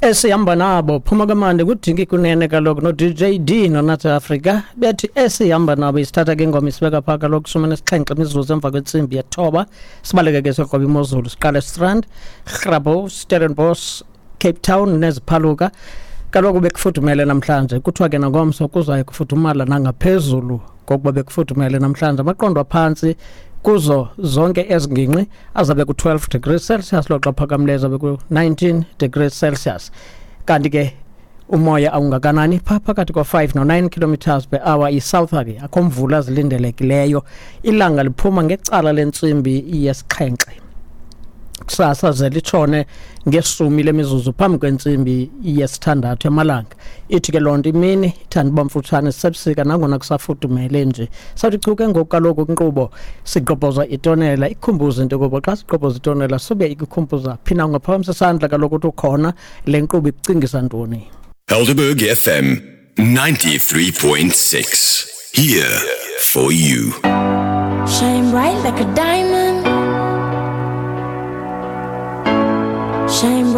Esihamba nabo phuma kamandi kudinki kunene kaloku no-DJ D noNathi Africa bethi esihamba nabo isithatha ke ingoma isibeka phaa kaloku shumi nesixhenxe imizuzu emva kwentsimbi yethoba. Sibaleke ke siyokroba imozulu, siqale Strand, Grabouw, Stellenbosch, Cape Town neziphaluka. Kaloku bekufudumele namhlanje, kuthiwa ke nangomso kuzaye kufudumala nangaphezulu kokuba bekufudumele namhlanje. Amaqondo aphantsi kuzo zonke ezi ngingqi azabe ku-12 degrees Celsius, loxa phakamileyo azabe ku-19 degrees Celsius. Kanti ke umoya awungakanani pha phakathi kwa-5 no-9 kilometers per hour. I-southerly, akho mvula zilindelekileyo. Ilanga liphuma ngecala lentsimbi yesixhenxe kusasa ze litshone ngeshumi lemizuzu phambi kwentsimbi yesithandathu emalanga. Ithi ke loo nto imini ithanda uba mfutshane sisebusika nangona kusafudumele nje. Sawuthi chu ke ngoku kaloku kwinkqubo sigqobhoza itonela. Ikhumbuze into yokokuba xa sigqobhoza itonela sube ikukhumbuza phi na. Ungaphakamisa isandla kaloku uthi ukhona, le nkqubo ikucingisa ntoni? Helderberg FM 93.6. Here for you. Shine bright like a diamond.